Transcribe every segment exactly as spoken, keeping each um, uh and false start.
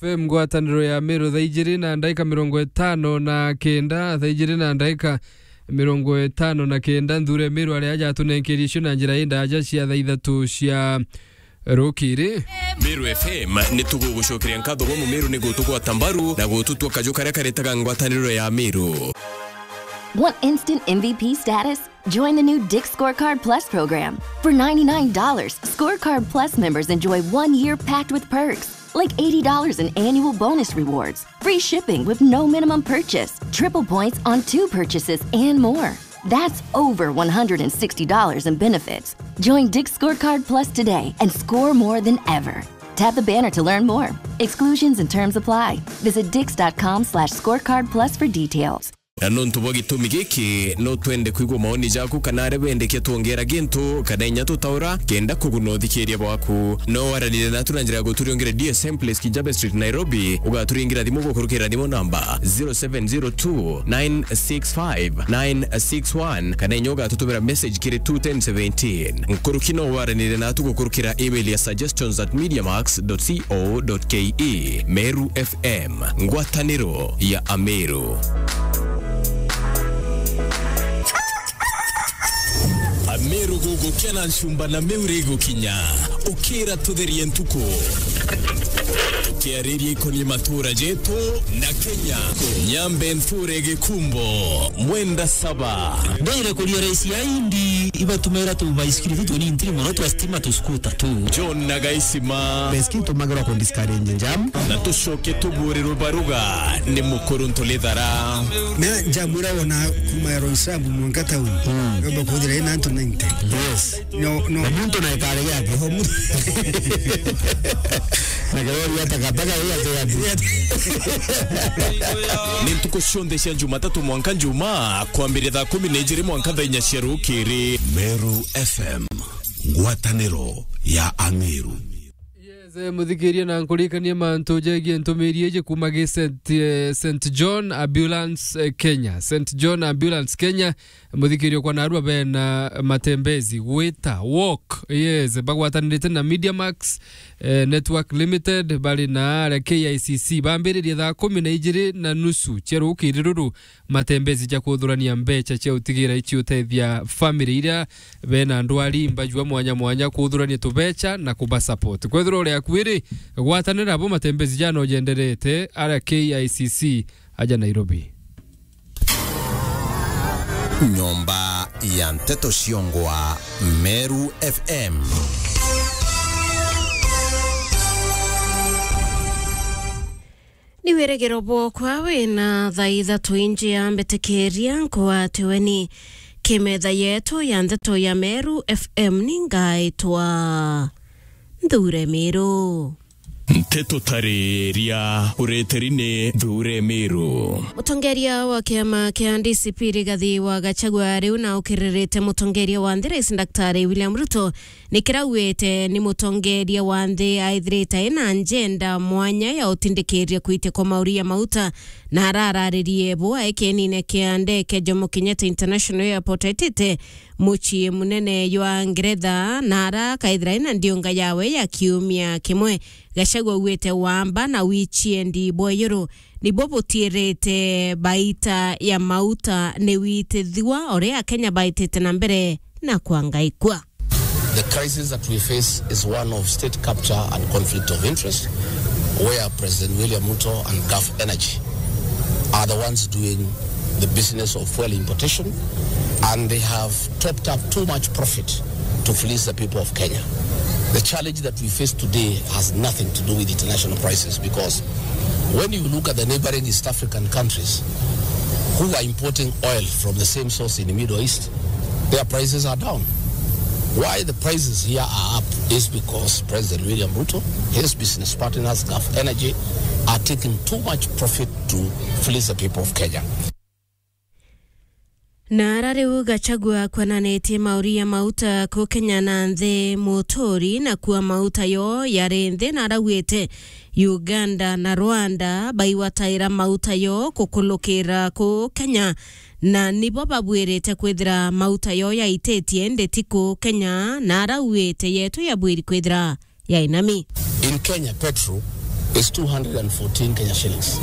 F M ngwataniro ya Meru thaa ijiri na ndaika mirongo itano na kenda, thaa ijiri na ndaika mirongo itano na kenda, Nthure Meru aria ajatunenkerie cio na njira indaja cia thaa ithatu cia rukiri. Meru F M ni tugugucokeria nkatho bwa Mumeru ni gutugwata mbaru na gututwa kaju karia karetaga ngwataniro ya Meru. Want instant M V P status? Join the new Dick's Scorecard Plus program. For ninety-nine dollars, Scorecard Plus members enjoy one year packed with perks, like eighty dollars in annual bonus rewards, free shipping with no minimum purchase, triple points on two purchases, and more. That's over one hundred sixty dollars in benefits. Join Dick's Scorecard Plus today and score more than ever. Tap the banner to learn more. Exclusions and terms apply. Visit dicks dot com slash scorecard plus for details. Na nontu bwa gitumi giki, no twende kwigua maoni jaku kana aria bendekia twongera gintu kana inya tutaura kenda kuguna uthikiria bwaku. No waranire natu na njira ya guturiongere D S M Place, Kijabe Street, Nairobi. Ugaturingira thimu gukurukira thimu namba zero seven zero two nine six five nine six one, kana inya ugatutumira message kiri two ten seventeen. Nkuruki no waranire natu gukurukira email ya suggestions at mediamax dot co dot ke. Meru F M, ngwataniro ya Ameru. Ameru gugukia na ncumba na miuri igukinya. Ukira tutherie ntuku. Tukiariria ikonie matura jetu na Kenya. Nyambe nthure Gikumbo, Mwenda Saba. Ndire kuria raisi ya indi, ibatumira tu baisikiri tu tuni ntiri mono twa stima tu scooter tu. John na Gaisima. Baisikiri tumagirwa ku discourage jam. Na tucoke tuburirwe baruga ni mukuru Ntulithara. Na njamura wona kuma ya Roysambu mwanka town. Mm. Ngamba kuthira ina antu ninety. Yes. No, no. Na muntu na ikare yake. Oho, mu- Na kirori ya takataka ya ate ya ate. Ni ntuku cionthe cia Jumatatu mwanka Njumaa, kwambiria thaa kumi na ijiri mwanka thaa inya cia rukiri. Meru F M, ngwataniro ya Ameru. Yes, eh, muthikiria na nkurikanie mantu jegie ntumiri iji kuma gi Saint, eh, Saint John Ambulance, eh, Kenya. Saint John Ambulance Kenya, muthikiria kwa narua bena matembezi, gwita, walk, yes, bagwatanirite na Media Max, eh, Network Limited, bari na aria K I C C. Bambiririe thaa kumi na ijiri na nusu cia rukiri ruru, matembezi ja kuthurania mbecha cia utigira ici utethia family iria bena ndwari mbajua mwanya mwanya, kuthurania tubecha na kuba support. Kwethirwa uri akuiri, gwatanira abo matembezi jana ujenderete, aria K I C C aja Nairobi. Nyomba ya nteto ciongwa Meru F M. Ni wirigiro bwokwa wina thaa ithatu inji ya mbitikiria nkwatiwe ni kimetha yetu ya nteto ya Meru F M, ni ngaitwa Nthure Miru. Nteto tariria ureteri ni Nthure Miru. Mutongeria wa kiama kia D C P Rigathi wa Gachagua riu na ukiririte mutongeria wa nthi Rais Daktari William Ruto ni kirauite ni mutongeria wa nthi aithirite ena njenda mwanya ya utindikiria kuitia kwa mauri ya mauta, na arararirie bu aikenine kia ndeke Jomo Kenyatta International Airport aitite mucii munene jwa Ngeretha, na ara akaithira ena ndiunga yawe ya kiumia kimwe. Gachagua augite wamba na wichiendi bwa iyuru nibo butiirite baita ya mauta ni witithua, uria Akenya baitite na mbere na kwangaikua. The crisis that we face is one of state capture and conflict of interest, where President William Ruto and Gulf Energy are the ones doing the business of fuel importation, and they have topped up too much profit to fleece the people of Kenya. The challenge that we face today has nothing to do with international prices, because when you look at the neighboring East African countries who are importing oil from the same source in the Middle East, their prices are down. Why the prices here are up is because President William Ruto, his business partners, Gulf Energy, are taking too much profit to fleece the people of Kenya. Na ara riu Gachagua akwananitie mauri ya mauta ku Kenya na nthi muturi, na kuo mauta yo yari nthi, na arauite Uganda na Rwanda baiwataira mauta yo kukulukira ku Kenya, na nibo babwirite kwithira mauta yo yaititie, indi ti ku Kenya, na arauite yetu yabwiri kwithira ya inami. In Kenya, petrol is two hundred and fourteen Kenya shillings.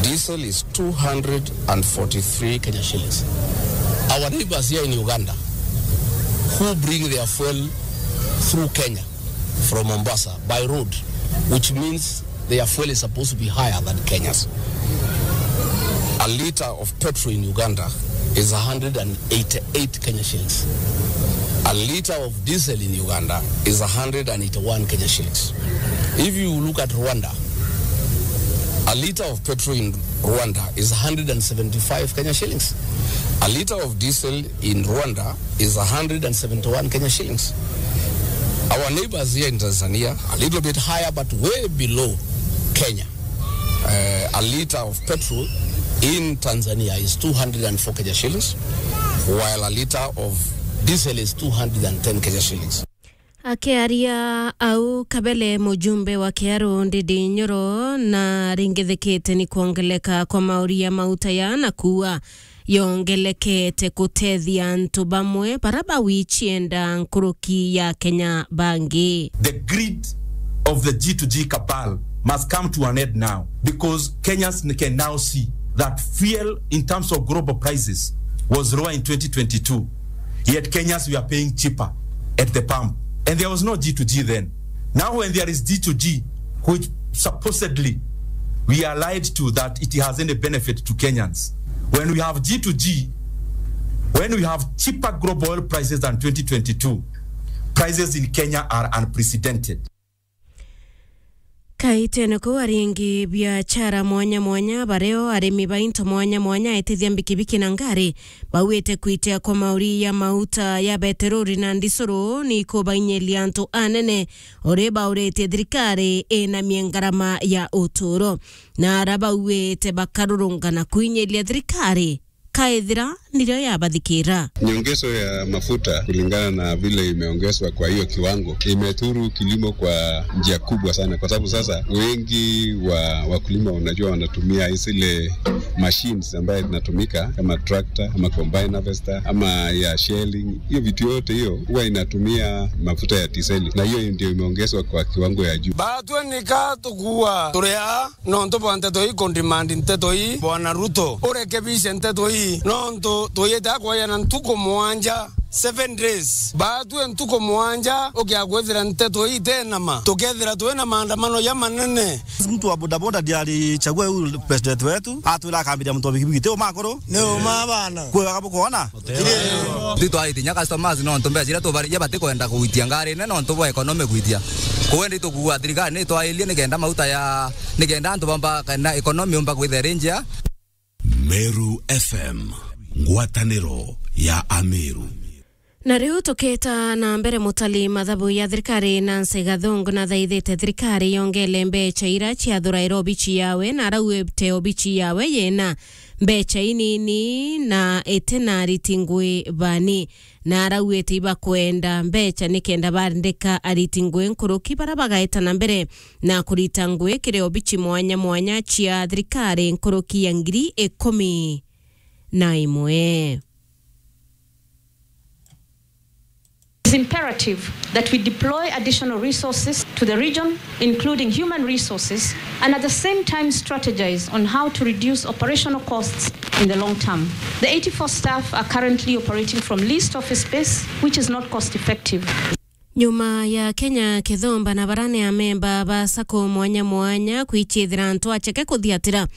Diesel is two hundred and forty-three Kenya shillings. Our neighbors here in Uganda, who bring their fuel through Kenya from Mombasa by road, which means their fuel is supposed to be higher than Kenya's. A litre of petrol in Uganda is a hundred and eighty-eight Kenya shillings. A litre of diesel in Uganda is a hundred and eighty-one Kenya shillings. If you look at Rwanda, a litre of petrol in Rwanda is a hundred and seventy-five Kenya shillings. A litre of diesel in Rwanda is a hundred and seventy-one Kenya shillings. Our neighbors here in Tanzania, a little bit higher, but way below Kenya. Uh, a litre of petrol in Tanzania is two hundred and four Kenya shillings, while a litre of diesel is two hundred and ten Kenya shillings. Akiaria au Kabele, mujumbe wa Kiaru Ndindi Nyoro, na ringithikite ni kwongeleka kwa mauri ya mauta ya na kuua yongelekete kutethia antu bamwe bara bawichienda nkuruki ya Kenya bangi. The greed of the G to G cabal must come to an end now, because Kenyans can now see that fuel in terms of global prices was lower in twenty twenty-two, yet Kenyans were paying cheaper at the pump. And there was no G to G then. Now, when there is G to G, which supposedly we are lied to that it has any benefit to Kenyans, when we have G to G, when we have cheaper global oil prices than twenty twenty-two, prices in Kenya are unprecedented. Kaitene kuu aringi biachara mwanya mwanya, bareo arimi ba into mwanya mwanya, etithia mbikibiki na ngari, bauite kwitia kwa mauri ya mauta ya beterori na ndisuru ni kubainyiria antu anene, uri bauritie thirikari inamie ngarama ya uturo. Na ara bauite bakarurungana kuinyiria thirikari, kaithira nirio yabathikira. Nyongezo ya mafuta kulingana na vile imeongezwa kwa hiyo kiwango imethuru kilimo kwa njia kubwa sana, kwa sababu sasa wengi wa wakulima, unajua, wanatumia zile machines ambaye zinatumika kama tractor ama combine harvester ama ya shelling. Hiyo vitu yote hiyo huwa inatumia mafuta ya diseli, na hiyo ndio imeongezwa kwa kiwango ya juu. Batwe nika tukua turia nontu bwa nteto ii, kundimandi nteto ii, Bwana Ruto, urekebishe nteto ii, nontu tuyite akwayana ntuku mwanja, seven days. Batue ntuku mwanja ukia kwithira nteto ii tenama, tukethira twina maandamano ja manene. Mtu wa bodaboda ndiye alichagua huyu president wetu, atwira akambiria mtu wa pikipiki, ti uma akuru? Ni uma bana. Kwe wakabu kuona? Ti twaiti nya customers nontu mbeca iria tubariria batikwenda kugwitia ngari nene nontu bwa economy gwitia. Kuu indi tukuuga thirikari ni itwairie nikenda mauta ya, nikenda antu bamba kana economy umba kwithira iri njia. Meru F M, ngwataniro ya Ameru. Na riu tukita na mbere, mutali mathabu ya thirikari Nancy Gathungu nathaithite thirikari yongele mbeca ira ciathuraira obici yawe, na araugite obici yawe yina mbeca inini na itina ariti ngui bani. Na araugite ibakwenda mbeca nikenda barindika ariti ngui nkuruki bara bagaeta na mbere na kurita ngui kiri obici mwanya mwanya cia thirikari nkuruki ya ngiri ikumi na imwe. It's imperative that we deploy additional resources to the region, including human resources, and at the same time strategize on how to reduce operational costs in the long term. The eighty-four staff are currently operating from leased office space, which is not cost effective. Nyuma ya Kenya Kithumba na barani amemba ba sacco mwanya mwanya kwichithira antu acheke kuthiatira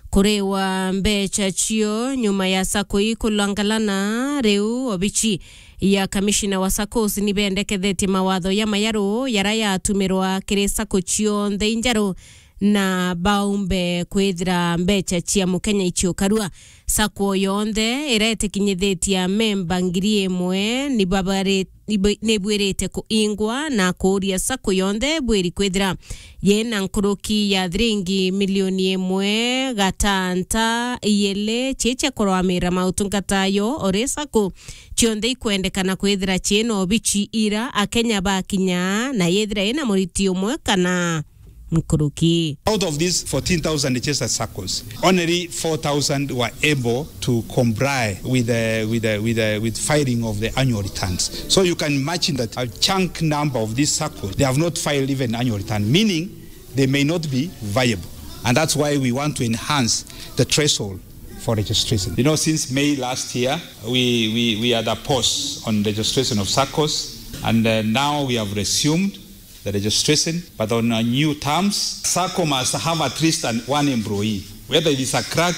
kuriwa mbeca cio nyuma ya sacco ii kulangalana, riu obici ya kamishina wa saccos ni bendekethetie mawatho ya mayaru yara yatumirwa kiri sacco cionthe injaru na baumbe kwithira mbeca cia mukenya iciukarua. Sacco yonthe ira itikinyithitie amemba ngiri imwe ni babari-, ni bu-, ni bwirite kuingwa na kuuria sacco yonthe bwiri kwithira yina nkuruki ya thiringi milioni imwe gatanta iili cia cia kurwamira mautungata yo ori sacco cionthe ikwendekana kwithira ciina obici ira Akenya bakinya na yithira ina muriti umwe kana nkuruki. Out of these fourteen thousand registered saccos, only four thousand were able to comply with the, with the, with the, with filing of the annual returns. So you can imagine that a chunk number of these saccos, they have not filed even annual return, meaning They may not be viable. And that's why we want to enhance the threshold for registration. You know, since May last year, we, we, we had a pause on registration of saccos, and, uh, now we have resumed the registration, but on, uh, new terms. Sacco must have at least an, one employee, whether it is a clerk,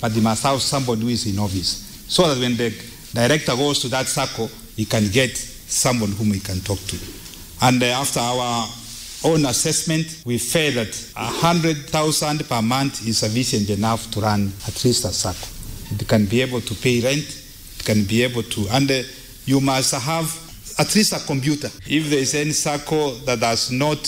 but they must have somebody who is in office, so that when the director goes to that sacco, he can get someone whom he can talk to. And, uh, after our own assessment, we felt that a hundred thousand per month is sufficient enough to run at least a sacco. It can be able to pay rent, it can be able to, and, uh, you must have at least a computer. If there is any sacco that has not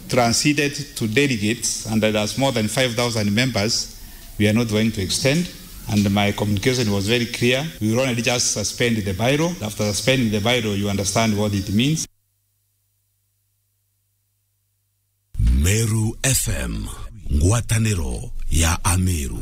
transited to delegates and that has more than five thousand members, we are not going to extend. And my communication was very clear. We will only just suspend the bylaw. After suspending the bylaw, you understand what it means. Meru F M, ngwatanĩro ya Ameru.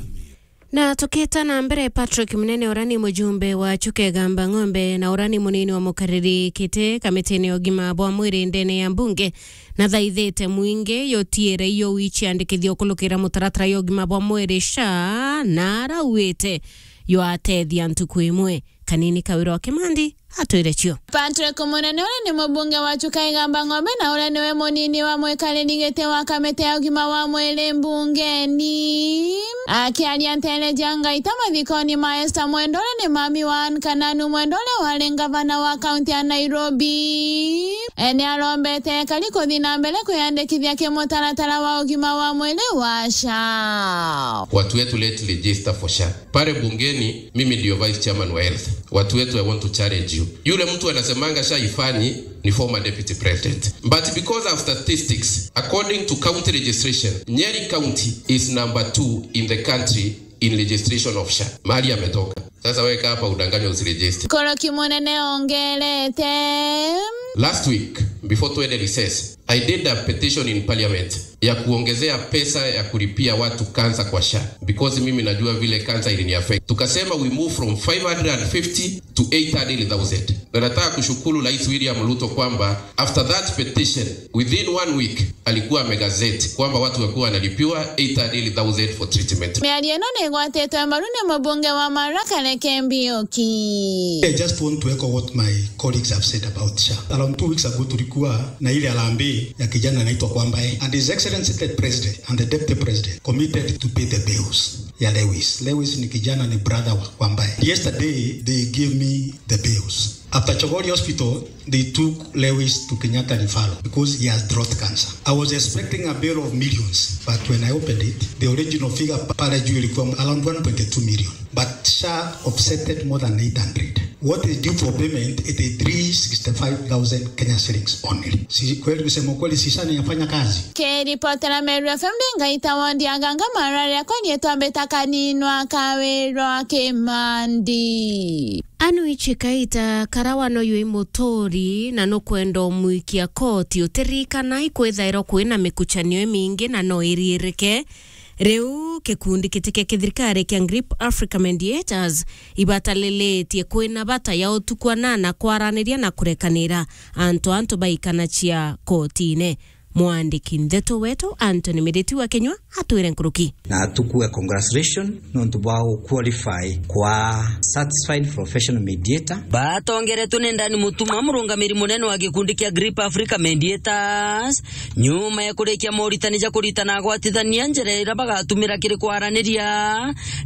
Na tukiita na mbere, Patrick Munene, uria ni mujumbe wa Chuka Igamba Ng'ombe na uria ni munini wa mukariri kiti kamitine ya ugima bwa mwiri ndene ya mbunge, nathaithite mwingi yutiire iyo wiciandikithia ukulukira mutaratara ya ugima bwa mwiri, SHA, na arauite yo atethia ntuku imwe. Kanini Kawira wa Kimandi atwire cio. Patrick Munene, uria ni mubunge wa Chuka Igamba Ng'ombe na uria niwe munini wa mwikariri giti wa kamiti ya ugima wa mwiri mbungeni, akiaria nteere cia Ngaita mathikoni ma Esther Mwendwa, uria ni mami wa Anne Kananu Mwendwa, uria wari ngavana wa kaunti ya Nairobi, ni arombete ekari kuthi na mbere kwiyandikithia kimutaratara wa ugima wa mwiri wa SHA. Watu wetu, let's register for SHA. Pale bungeni, mimi ndio vice chairman wa health. Watu wetu, I want to challenge you. Yule mtu anasemanga SHA ifanyi ni former deputy president. But because of statistics, according to county registration, Nyeri County is number two in the country in registration of SHA. Mahali ametoka. Sasa wewe kaa hapa udanganywe, usiregister. Koroki Munene ongerete. Last week, before twende recess, I did a petition in parliament ya kuongezea pesa ya kulipia watu cancer kwa SHA, because mimi najua vile cancer ilini affect. Tukasema we move from five hundred and fifty to eight hundred thousand. Na nataka kushukuru Rais William Ruto kwamba after that petition, within one week, alikuwa amegazette kwamba watu wakuwa wanalipiwa eight hundred thousand for treatment. Miario ino ni igwatitwe mbaru ni mubunge wa Marakare Kembi Oki. I just want to echo what my colleagues have said about SHA. Around two weeks ago, tulikuwa na ile harambee ya kijana anaitwa Kwambae, and His Excellency the President and the Deputy President committed to pay the bills ya Lewis. Lewis ni kijana, ni brother wa Kwambae. Yesterday, they gave me the bills. After Chogoria Hospital, they took Lewis to Kenyatta Referral because he has throat cancer. I was expecting a bill of millions, but when I opened it, the original figure pa-, pale juu ilikuwa around one point two million. But SHA offsetted more than eight hundred. What is due for payment, eighty-three sixty-five thousand Kenya shillings only. Si kweli, kusema kweli, si SHA inafanya kazi? Kiripotera Meru F M ni Ngaita wondi Aganga Marari, akwa ni twambita kaninwa Kawirwa Kimandi. Anu ichi kaita kara wano yui muturi na nukwenda umwikia koti, utirikana ikwithairwa kwina mikuchanio imingi na no iriirike. Riu gikundi giti kia kithirikari kia Grip Africa Mediators ibatalilitie kwina bata ya utukua na na kwaraniria na kurekanira antu antu baikanacia kotine. Mwandiki ndeto wetu Anthony Miriti wa Kinyua atwire nkuruki. Na tukue congratulation nontu bwa qualify kwa certified professional mediator. Batongeretwe ni Ndani Mutuma, murungamiri munene wa gikundi kia Grip Africa Mediators, nyuma ya kurikia moritani ja kuritana agwatithania njira iria bagatumira kiri kwaraniria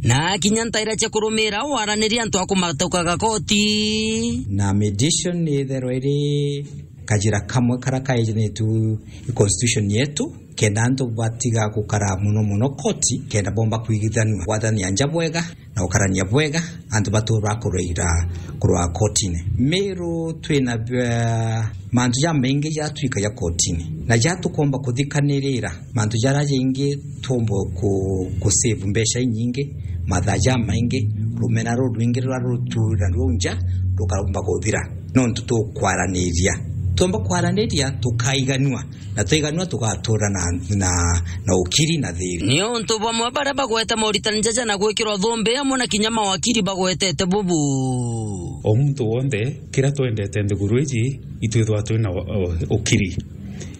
na kinya ntaira cia kurumira waraniria antu a kumatukaga koti. Na mediation ni itherwa iri kajira kamwe kara kaejanitue i constitution yetu, kenda antu batiga gukara muno muno koti, kenda bomba kwigithanua, gwathania nja bwega na gukarania bwega, antu batura kuraira kurwa kotine. Meru twina, eh, mantu jamaingi jatwikagia kotine, na jatukomba kuthikanirira mantu jaria jaingi twomba ku, ku save mbeca inyingi, mathaa jamaingi, rumena rurwingi ruria rutura ruu nja rukaromba kuthira. Nontu tukwaraniria. Twomba kwaraniria, tukaiganua. Na twaiganua, tugatura na, na, na ukiri na thiri. Ni untu bamwe baria bagwete moritani jaja na gwikirwa thumbi amwe na kinya mawakiri bagwetete bubu. O muntu wonthe, kiria twendete nthiguru iji, itwithwa twina u-, u-, ukiri.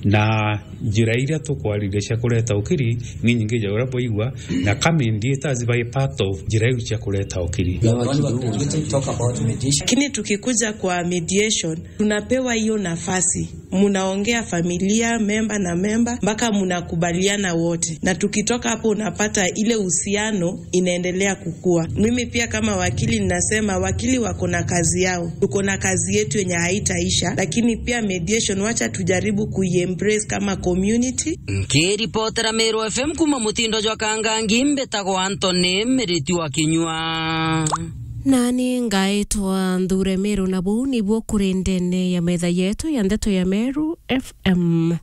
Na njira iria tukwariria cia kureta ukiri ni nyingi ja uria bwaigua, na ka mediators bai part of njira iu cia kureta ukiri. Lakini tukikuja kwa mediation, tunapewa hiyo nafasi, munaongea familia memba na memba mpaka munakubaliana wote, na tukitoka hapo unapata ile uhusiano inaendelea kukua. Mimi pia kama wakili ninasema wakili wako na kazi yao, tuko na kazi yetu yenye haitaisha, lakini pia mediation, wacha tujaribu kuiembrace kama community. Nkiripotera Meru F M kuma mutindo jwa Kangangi, mbitagwa Anthony Miriti wa Kinyua. Nani ngaitwa Nthure Meru, na buu nibuo kuri ndene ya metha yetu ya ndeto ya Meru F M.